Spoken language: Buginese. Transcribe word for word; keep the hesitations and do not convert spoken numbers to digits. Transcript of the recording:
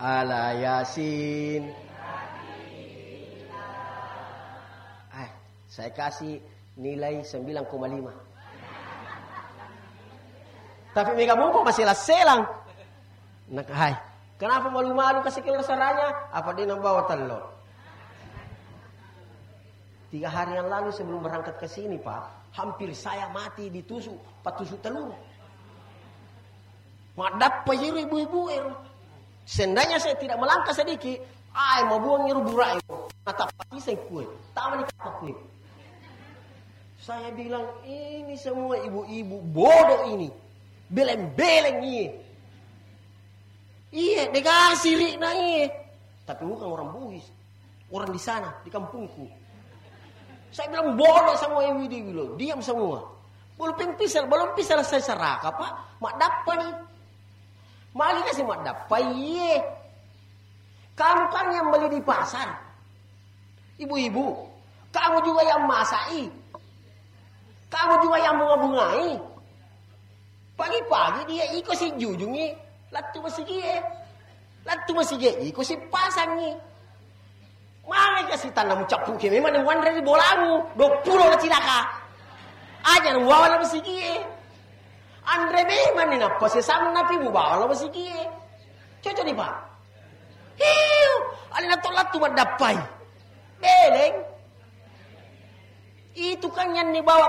Ala Yasin. Eh, saya kasih nilai sembilan koma lima. Tapi mega mupo masih selang-selang. Nah, hai. Kenapa malu-malu kasih keluar saranya? Apa dia nang bawa telur? Tiga hari yang lalu sebelum berangkat ke sini, Pak, hampir saya mati ditusuk, patusuk telur. Madappa iro ibu-ibu ero. Seandainya saya tidak melangkah sedikit, ai mabuang iro burak ero. Natappa iseng kue. Tama ni kappa kue. Saya bilang, "Ini semua ibu-ibu bodoh ini. Beleng-beleng iye." Iye, dega sirikna iye. Tapi bukan orang Bugis. Orang di sana, di kampungku. Saya bilang, "Bodoh semua ibu-ibu." Diam semua. Belum ping pisal, belum pisal saya serakah, Pak. Madappa ni. Magi kasih madappa, iye. Kamu kan yang beli di pasar. Ibu-ibu, kamu juga yang masai. Kamu juga yang bunga-bungai. Pagi-pagi dia iko si jujungi, lattu masigie. Lattu masigie, iko si pasangi. Mane kasi tanna mucappu ke memang ni wanre ri bolamu, dua puluh na cilaka. Aja na mubawa la masigie. Anre memang ni nappa sesanna pi mubawa la masigie. Cocok ni, Pak. Hiu, alena to lattu maddappai. Beleng. Itu kan yang dibawa